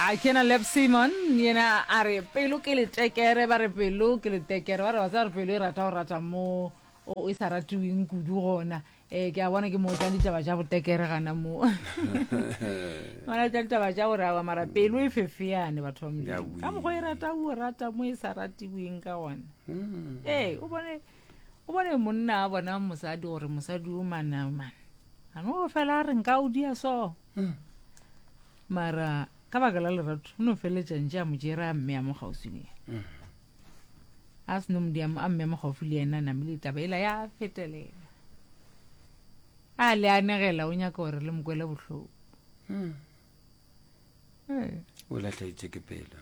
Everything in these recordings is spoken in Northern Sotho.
A ke na Leb Simon yena a re pelo ke letekere ba re pelo ke letekere ba re ba tseba re pelo e rata go rata mo o e sa ratiweng kudu gona um ke a bona ke mo tla ditaba tša botekere gana mo bona tla ditaba tša gore awa mara pelo e fefeane batho ba modimo ka mokgwa e rata o rata mo e sa ratiweng ka gona hmm. ee o bone o bone monna a bona mosadi gore mosadi o manamane a no fela a re nka o dia so hmm. Mara ka baka la lerato o no feleletša ntše a mo tšere a mmea mo kgauswi le yena. Mm. A se no mo dia a mmea mo gaufi le yena namile taba ela ya fetelela. A le anegela o nyaka gore le mo kwele bohloko. Mm. Eh. O lahleditše ke pelo.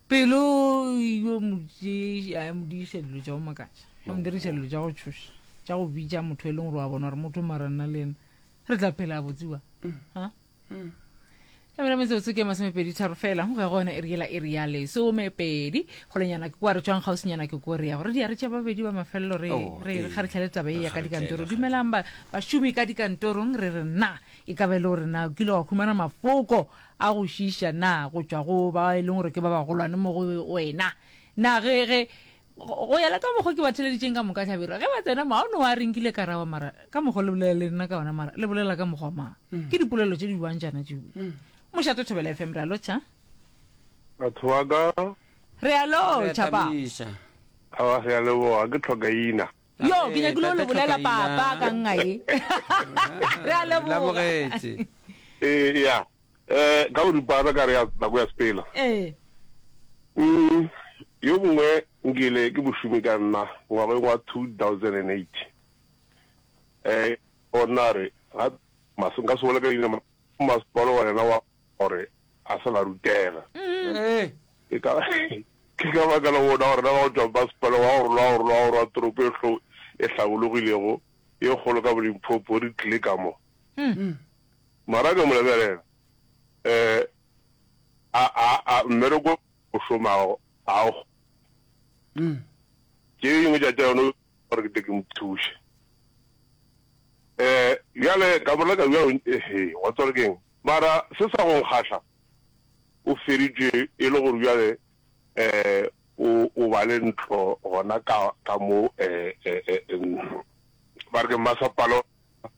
Pelo yo mo tše mo diša dilo tša go makatša. Mo diriša dilo tša go tšhoša, tša go bitša motho e leng gore wa bona gore motho mara nna le yena re tla phela botsiwa ha tlamela metsotso ke masomepedi tharo fela go ya gona e re yela e re ya lesomepedi golenyana ke kwa re tswang gausinyana ke ko re ya gore diare tša babedi ba mafelelo re Oh, re ee. kgaritlhele taba e ya ka Re dikantoro kgaritlhele. dumelang ba bašomi ka dikantorong re re na e ka ba e le gore na o kile wa humana mafoko a go šiiša na go tšwa go ba e leng gore ke ba bagolwane mo go wena na ge ge Go ya le ka mokgo ke ba theleditšeng ka moka Hlabirwa, ge ba tsena mo, ga o no wa re nkile ka rawa mara ka mokgo le bolela le nna ka ona mara le bolela ka mokgwa mang. Mm. Ke dipolelo tše di bjang tšana tšeo. Mm. Mošate Thobela FM re a lotšha. Batho ba ka. Re a lotšha pa. Awa re a leboga ke tlhokaina. Yo ke nyakile o le bolela papa ka nna ye. Re a leboga. Eh ya. Eh, ka boripana ka re ya nako ya sepela. Ee. Mm, yo mongwe nkile ke mošomi ka nna ngwageng wa 2008. Eh, ona re ga mas nka se bole ka leina masepalo wa yena wa gore a se la rutega. Ee. Ke ka ke ka baka la bona gore na ba go tšwa masepalo wa gore lwa gore lwa gore wa toropo e hlo e hlabologilego e kgolo ka boLimpopo re tlile ka mo. Mara ka mo lebelela, eh, a, a, a, mmereko o šomago a o kgone. Tše dingwe tša tša yona gore ke tle ke mo thuše. Eh, bjale ka mo leka bjalo, ehe, wa tseba gore ke eng? Mara se sa go nkgahla, o feditše e le gore bjale eh, o, o ba le ntlo gona ka, ka mo, eh, eh, eh, ba re ke mmasepala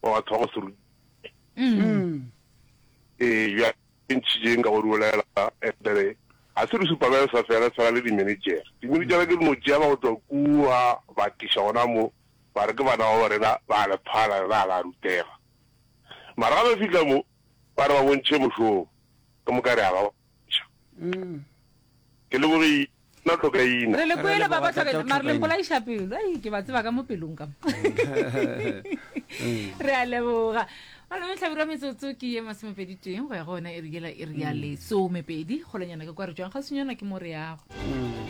wa batho ba go se rute. Ee, bjale e ntšhitšeng ka go di bolela, and ga se di-supervisor fela, fela le di-manager. Di-manager ke no tšea ba go tšwa kua ba tliša gona mo, ba re ke bana ba rena ba le phala, rena ga la rutega. Mara ga ba fihla mo, ba re ba bontšhe mošomo, ke moka re a ba bontšha. Ke lebogile. Nna tlhokaina. Re le kwele Re ba ba leboga tlhokaina Tate mare le Tlhokaina. mpolaiša pelo ai ke ba tseba ka mo pelong ka mo re a leboga malome hlabirwa metsotso ke ye masomepedi teng go ya go yona e re yela e re ya lesomepedi kgolonyana ke kwa re tšwang kgauswinyana ke mo re yago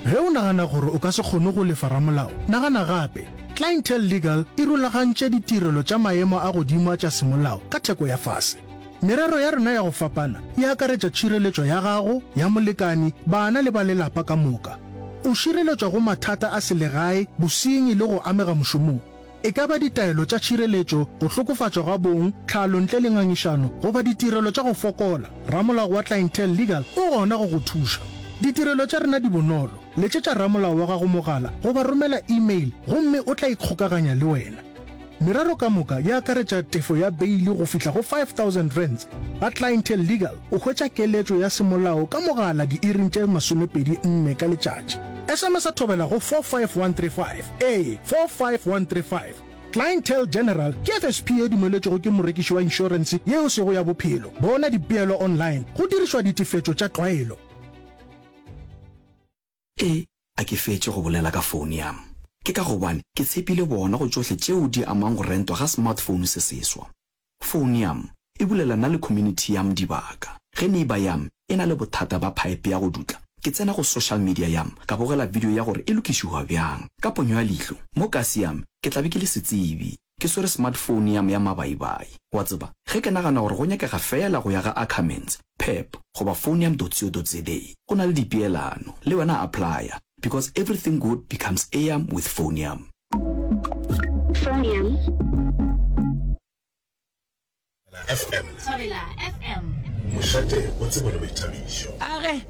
Ge o nagana gore o ka se kgone go lefa ramolao, nagana gape. Clientele Legal e rulagantše ditirelo tša maemo a godimo a tša semolao ka theko ya fase. Merero ya rena ya go fapana e akaretša tšhireletšo ya gago, ya molekani, bana le ba lelapa ka moka. O šireletšwa go mathata a selegae, bosenyi le go amega mošomong. E ka ba ditaelo tša tšhireletšo, go hlokofatšwa ga bong, tlhalo ntle le ngangišano goba ditirelo tša go fokola, ramolao wa Clientele Legal o gona go go thuša. Ditirelo tša rena di bonolo, letšetša ramolao wa gago mogala goba romela email gomme o tla ikgokaganya le wena. Merero ka moka e akaretša tefo ya beili go fihla go R5000. Ga Clientele Legal o hwetša keletšo ya semolao ka mogala diiring tše 24 ka letšatši. SMS-a thobela go 45135. Ee, 45135. Clientele General ke FSP ye dumeletšwego ke morekiši wa inšorense ye e sego ya bophelo. Bona dipeelo online go dirišwa ditefetšo tša tlwaelo. E, a ke fetše go bolela ka phone yam. Ke ka gobane ke tshepile bona go tšohle tšeo di amang go rentwa ga smartphone se seswa. Phone yam e bulela nna le community yam dibaka. Ge neighbour yam e na le bothata ba pipe ya go dutla, ke tsena go social media yam ka bogela video ya gore e lokišiwa bjang. Ka ponyo ya leihlo, mo kasi yam ke tla be ke le setsebi. Ke swere smartphone ya me ya mabaibai. Wa tseba, ge ke nagana gore go nyakega feela go ya ga Ackermans, Pep, goba phoneyam.co.za, go na le dipeelano. Le wena applya, because everything good becomes eyam with Phoneyam. Phoneyam. FM. Thobela FM. Mošate wa tsebo le boithabišo. A ge,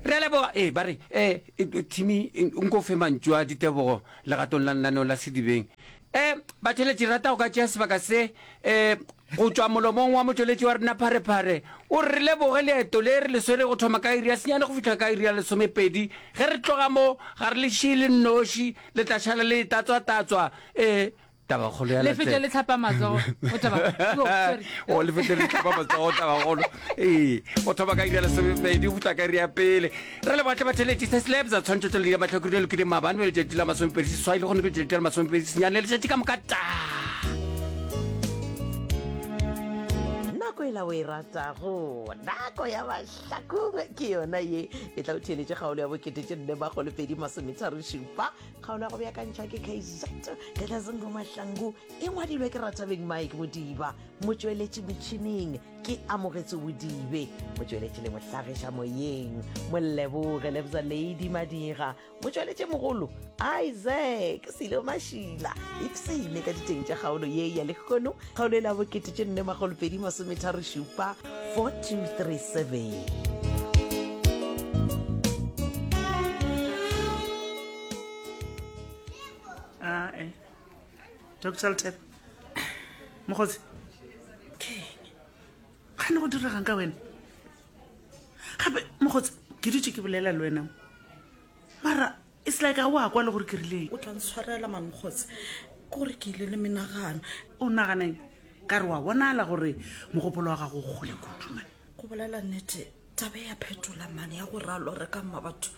re a leboga. Ee, ba re, eh, Timmy, nko fe mantšu a ditebogo legatong la lenaneo la Sedibeng. Eh, batheeletši, re rata go ka tšea sebaka se, eh, go tšwa molomong wa motšweletši wa rena Pharephare. O re re leboge leeto le re le swere go thoma ka iri ya senyane go fihla ka iri ya lesomepedi. Ge re tloga mo, ga re le šie le nnoši, le tla šala le tatswa-tatswa. Eh, Tabakgolo ya Le fete le tlhapa matsogo o taba. Oh, sorry. O le fete le tlhapa matsogo tabakgolo. Ee, o thoma ka iri ya lesomepedi go fihla ka iri ya pele. Re leboga tle batheeletši se slabs tshwantšho tša ledi ya mahlakore le lokile maabane be letšatši la masomepedi seswai le gone ke letšatši la masomepedi senyane letšatši ka moka ta. Nako e la o e ratago, nako ya mahlakong ke yona ye e tla o theeletše kgaolo ya bokete tše nne makgolo pedi masometharo šupa Kgaolo ya go beakantšhwa ke KZ Gedlazingo Mahlangu e ngwadilwe ke Ratabeng Mike Modiba, motšweletši metšhineng ke Amogetse Bodibe, motšweletši le mohlagiša moyeng Moleboge Lebza Lady Madira, motšweletši mogolo Isaac Silo Mašila. Ipsene ka diteng tša kgaolo ye ya lehono, kgaolo e la bokete tše nne makgolo pedi masometharo šupa 4237. Ae. Doctor Lethebe. Mokgotsi. Kgane go diregang ka wena? Gape mokgotsi ke dutše ke bolela le wena. Mara it's like ga o a kwa le gore ke rileng. O tla ntshwarela man mokgotsi. Ke gore ke ile le menagano. O nagana eng? Ka re wa bonala gore mogopolo wa gago o kgole kudu man. Go bolela nnete taba ya phetola man ya gore a lore ka mma batho.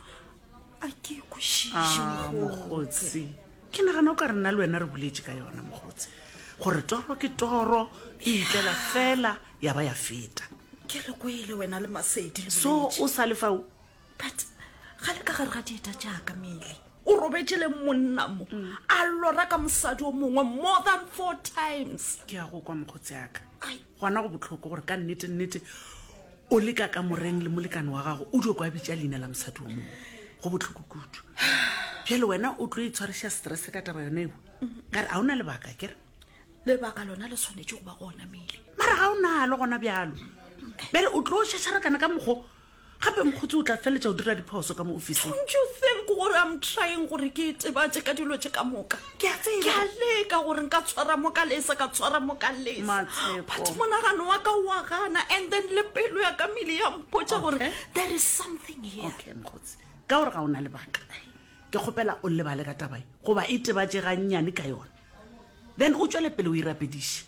A ke e kwešiše, Ah, mokgotsi. mokgotsi ke nagana o ka re nna le wena re boletše ka yona mokgotsi gore toro ke toro e itlela fela ya ba ya feta Ke re kwele wena le Masedi le so boletše. o sa le fao But ga le ka gare ga dieta tša ka Mele. O robetše le monna mo a lora ka mosadi o mongwe more than four times. Ke a go kwa mokgotsi aka. Gona go bohloko gore ka nnete nnete o le ka kamoreng le molekane wa gago o dio kwa bitša leina la mosadi o mongwe. Go bohloko kudu. Bjale wena o tlo itshwariša stress ka taba yona eo? Ka re ga o na lebaka akere? Lebaka lona le swanetše go ba gona Mele. Mara ga o nalo gona bjalo. Bjale o tlo šašarakana ka mokgo Gape mokgotsi o tla feletša o dira diphoso ka mo ofising. Don't you think gore I'm trying gore ke itebatše ka dilo tše ka moka? Ke a tseba. Ke a leka gore nka tshwara mo ka lesa, ka tshwara mo ka lesa. Matsheko. But monagano wa ka wa gana and then le pelo ya ka mele ya mpotša gore Okay. there is something here. Okay, mokgotsi. Ka gore ga o na lebaka, ke kgopela o lebale ka taba ye goba itebatše gannyane ka yona. Then o tšwele pele o irapediše.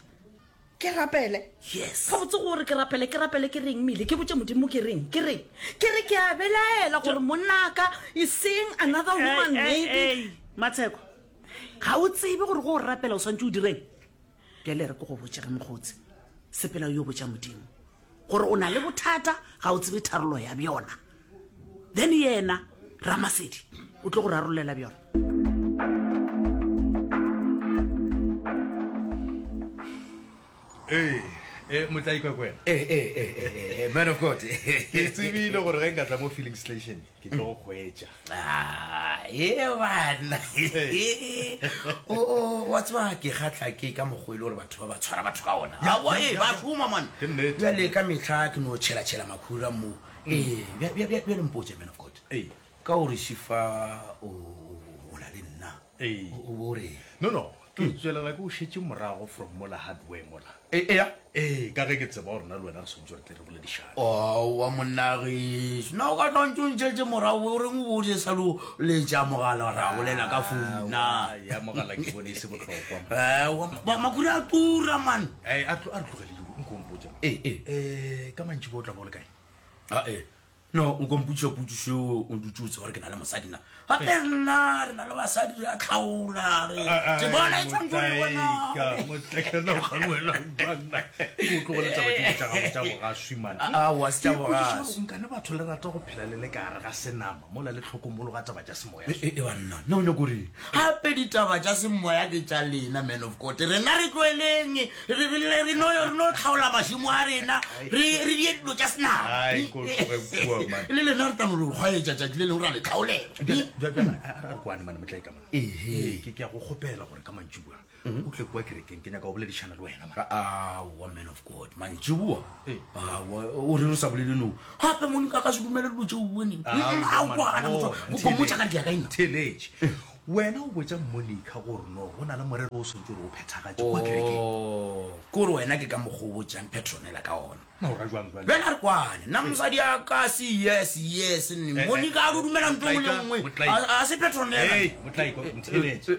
Ke rapele? Yes. Gabotse gore ke rapele, ke rapele ke reng mele? Ke botše Modimo ke reng? Ke reng? Ke re ke a belaela gore monnaka is seeing another woman Hey, hey, maybe. hey, Matsheko, ga o tsebe gore go o rapela o swantse o direng? Bjale re ke go botše ge mokgotsi, sepela o yo botša Modimo gore o na le bothata, ga o tsebe tharolo ya bjona. Then yena Ramasedi o tlo go rarollela bjona. Ee, ee, motlaikwa ke wena. Ee, ee, ee, ee, ee, man of God. Ke tsebile gore ge nka tla mo filling station ke tlo go hwetša. Ah, ee bana. O, o, wa tseba ke kgatlha ke ka mokgwa e le gore batho ba ba tshwara batho ka ona. Ya, Aowa, ya, ee, ya, ba ya. šoma man. Ke nnete. Bjale ka mehla ke no tšhela-tšhela makhura mo. Ee, bja, bja, bja, bjale mpotše man of God. Ee. Ka gore Šifa o, o na le nna. Ee. O, o bo reng? No, no, ke tswelela ke o šetše morago from mola hardware mola. E, eya. Ee, ka ge ke tseba gore nna le wena re swanetše gore tle re boledišane. Aowa monna gešo, na o ka tla ntse o ntšhetše morago o reng o bo o sa lo letša mogala ra bolela ka founu na? Aowa, ya mogala ke bone e se bohlokwa. Aowa, makhura a tura man. Ee, a tlo, a re tlogele yo, nko o mpotše. Ee, ee. Eh, ka mantšiboa o tla ba o le kae? Ae, no o ka mpotšiša potšišo eo o dutše o tseba gore ke na le mosadi na? Gape nna re na le basadi re a tlhaola re ke bona e tshwanetse re bona. Motlekana o gangwela banna. O tlogele taba tšeo tša gago tša bogaswi man. Aowa, se tša bogaswi. Nkane batho le rata go phela le le ka gare ga senama mola le hlokomologa taba tša semoya. E, e, banna, na o nyako reng? Gape ditaba tša semoya ke tša lena man of God. Rena re tloeleng re, re, re, re no, re no tlhaola mašemo a rena re, re die dilo tša senama. Ai, ko tloge kua. Le lena re tla no le kgwaetša tšatši le lengwe ra le tlhaolela. Bjale a re kwane mane motlae ka mona. Ke ke a go kgopela gore ka mantšiboa o tle kua kerekeng ke nyaka go boledišana le wena man. Aowa man of God, mantšiboa? Aowa, o reng o sa bolele no? Gape Monica a ka se dumele dilo tšeo o neng. Aowa, gana motho, go mmotša ka re ke ya kae nna? Theeletše. Wena o botša Monica gore no go na le morero o swantše gore o phethagatše kua kerekeng. Oh, ke gore wena ke ka mokgwa o botšang Petronella ka ona. Na o ra jwang jwale? Bjale a re kwane, nna mosadi a ka se yes, yes, nne. Eh, eh, Monica a do dumela ntho e nngwe le nngwe. Motlaika. A a se Petronella. Hey, Motlaika, ntheeletše.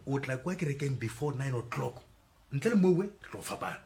O tla kua kerekeng before 9 o'clock. Ntle le mowe, re tlo fapana.